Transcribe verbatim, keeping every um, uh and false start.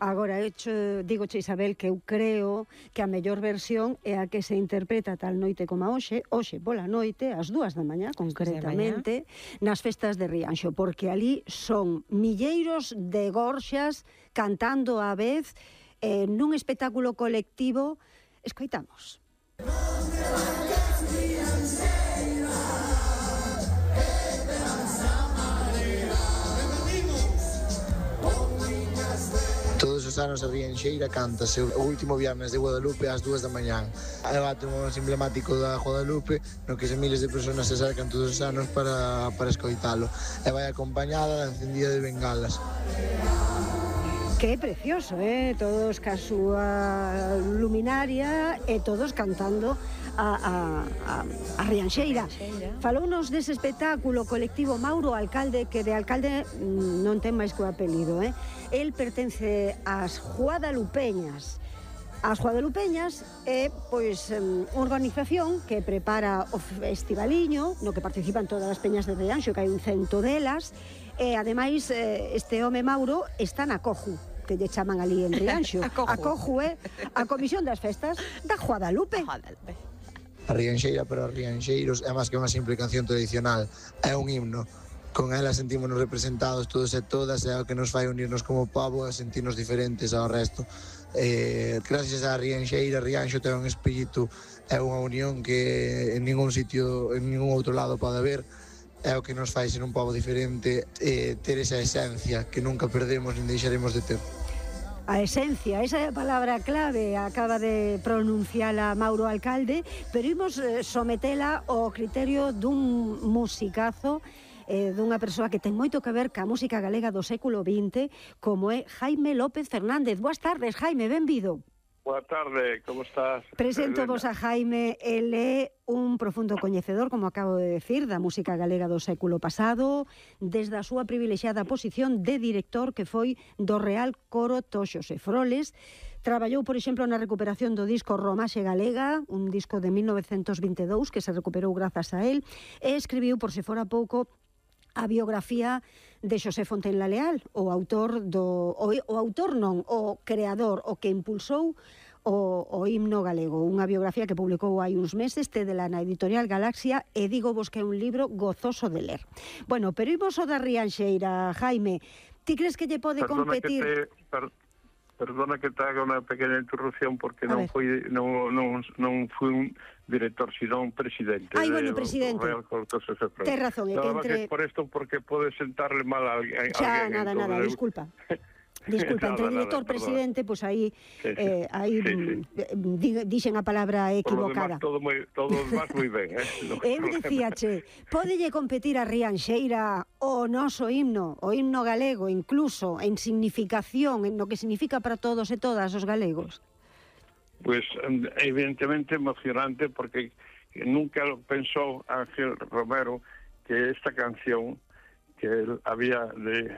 Agora, hecho, digoche, Isabel, que eu creo que a mellor versión é a que se interpreta tal noite como a hoxe, hoxe pola noite, ás dúas da mañá, concretamente, nas festas de Rianxo, porque ali son milleiros de gorxas cantando á vez eh, nun espectáculo colectivo. Escoitamos. Todos os anos a Rianxeira cántase o último viernes de Guadalupe ás dúas da mañán. É o acto máis emblemático da Guadalupe, no que se miles de persoas se acercan todos os anos para, para escoitalo. E vai acompañada da encendida de bengalas. Que precioso, eh? Todos ca súa luminaria e todos cantando a, a, a, a Rianxeira. Falounos dese espectáculo colectivo Mauro Alcalde, que de alcalde non ten máis que o apelido, eh? El pertence ás Guadalupeñas. As Guadalupeñas é, pois, unha organización que prepara o festivaliño, no que participan todas as peñas de Rianxo, que hai un cento delas, e, ademais, este home Mauro está na Coju, que lle chaman ali en Rianxo. A Coju. A Coju é a Comisión das Festas da Guadalupe. A Rianxeira para os rianxeiros é máis que unha simple canción tradicional, é un himno. Con ela sentímonos representados todos e todas, é o que nos fai unirnos como pobo e sentirnos diferentes ao resto. Eh, gracias á Rianxeira, Rianxo ten un espírito, é unha unión que en ningún sitio, en ningún outro lado pode haber. É o que nos fai ser un pobo diferente, eh, ter esa esencia que nunca perdemos nin deixaremos de ter. A esencia, esa é a palabra clave, acaba de pronunciala Mauro Alcalde, pero imos sometela ao criterio dun musicazo, eh, dunha persoa que ten moito que ver ca música galega do século vinte, como é Jaime López Fernández. Boas tardes, Jaime, benvido. Boa tarde, como estás? Presento vos a Jaime, el é un profundo coñecedor, como acabo de decir, da música galega do século pasado, desde a súa privilexiada posición de director que foi do Real Coro Toxos e Froles. Traballou, por exemplo, na recuperación do disco Romaxe Galega, un disco de mil novecentos vinte e dous que se recuperou grazas a él, e escribiu, por se fora pouco, a biografía de Xosé Fontenla Leal, o autor do o, o autor non, o creador, o que impulsou o, o himno galego, unha biografía que publicou hai uns meses, tedela na editorial Galaxia, e digo vos que é un libro gozoso de ler. Bueno, pero imos o da Rianxeira, Jaime. Ti crees que lle pode perdona competir? Que te, per, perdona que te haga unha pequena interrupción, porque non foi non, non, non foi un director, sino un presidente. Ai, bueno, presidente. Tens razón, é que entre... por isto, porque pode sentarle mal a alguén. Xa, nada, nada, eu... disculpa. Disculpa, entre nada, director, nada, presidente, pois pues aí sí, sí. eh, aí sí, sí. dixen a palabra equivocada. Por lo demás, todo moi, todo demás moi ben, eh? No eu dicíache, podelle competir a Rianxeira o noso himno, o himno galego, incluso en significación, en lo que significa para todos e todas os galegos? Pues evidentemente emocionante, porque nunca pensou Ángel Romero que esta canción que él había de